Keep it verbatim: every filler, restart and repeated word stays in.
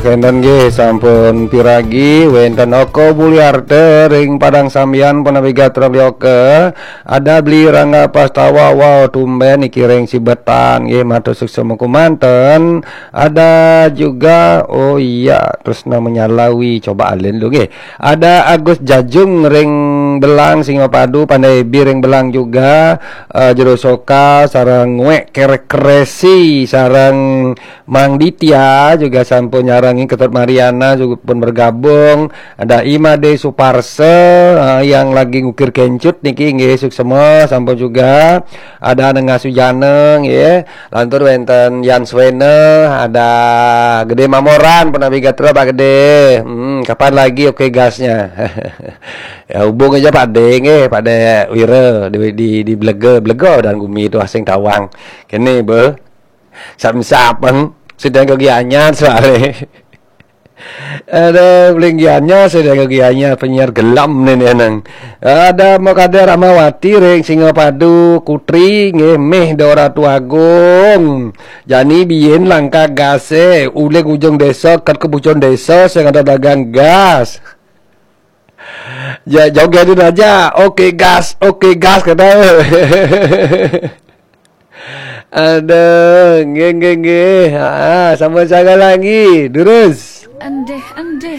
Kenten nggih sampun piragi wenten Oko Buliarte ring Padang Sambian punapi gatra beli Oke. Ada beli Rangga Pastawa, wow tumben niki ring Sibetan nggih matur suksma kumanten. Ada juga, oh iya, terus namanya Lawi, coba alin dulu nggih. Ada Agus Jajung ring Belang, Singapadu, Pandai Bi ring Belang juga, eh, Jero Soka sareng Ngwek Kerek Keresi sareng Mang Ditya juga sampun nyarengi, Ketut Mariana juga pun bergabung. Ada Imade Suparse, eh, yang lagi ngukir kencut niki nggih suksma sampun juga. Ada Nengah Sujana nggih. Lantur wenten Yan Swene, ada Gede Mamoran punapi gatra Pak Gede. Hmm, kapan lagi oke gasnya? Ya hubung aja Pak De nggih, Pak De Wira di di, di Blega, Blega dan Gumi itu asing tawang. Kene be. Sap-sap, Bang. Sedang kegiaannya soalnya. Ada belinggiannya, sedang kegiaannya penyiar gelam nih, nih, nang. Ada Mokade Rahmawati ring Singapadu, Kutri nggih, meh Dora Tuagung. Jani biyen langkah gase, uling ujung desa, ket kebucon desa, sing ada dagang gas. Ya, jogetin aja. Oke gas, oke gas, kata. Aduh, nggih, nggih, nggih. Ah, sama saya lagi. Terus. Endeh-endeh